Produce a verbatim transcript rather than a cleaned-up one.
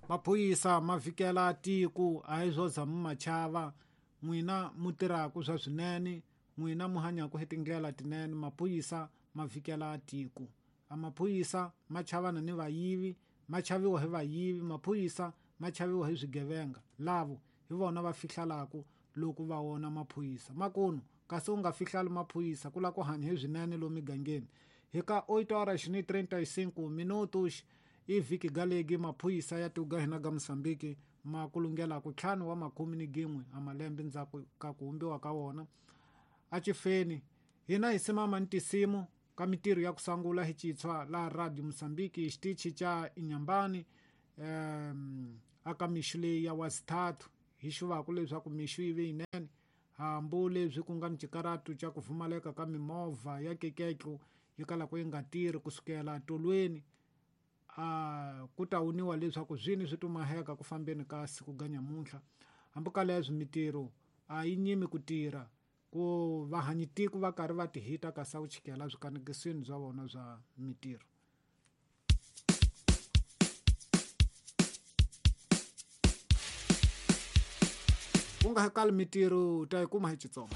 Maphorisa ma vhikela tiko a hi swo za mi ma chava n'wina mu tirhaka swa swinene n'wina mu hanyaka hi tindlela tinene maphorisa ma vhikela tiko a maphorisa ma chavana ni vayivi ma chaviwa hi vayivi maphorisa ma chaviwa hi swigevenga lavo hi vona va fihlalaka loko va vona maphorisa makunu kasi u nga fihlali maphorisa ku lava ku hanya hi swinene lomu migangeni hi ka oito horas ni trinta e cinco minutos i vhiki galegi maphorisa ya tiko ga hina ga Mozambique ma kulungela ku ntlhanu wa makume ni gin'we a malembe ndzhaku ka ku humbiwa ka wona a chifeni hina hi simama ni tisimu ka mitirho ya ku sangula hi chitshwa la Radio Mozambique xitichi xa Inhambane um aka mixo leyi ya wasithathu hi xuvaku leswaku mixo yi ve yinene hambi leswi ku nga ni xikaratu xa ku pfumaleka ka mimovha ya keketlo yi kalaka yi nga tirhi kusukela tolweni a ku ta wuniwa leswaku swini swi tumaheka ku fambeni ka siku ga nyamuntlha hambi ka leswi mitirho a yi nyimi ku tirha ku vahanyitiko va karhi va tihita ka sa ku chikela swikanekisweni swa vona swa mitirho. Ku nga kali mitirho ta yi kuma hi Xitsonga.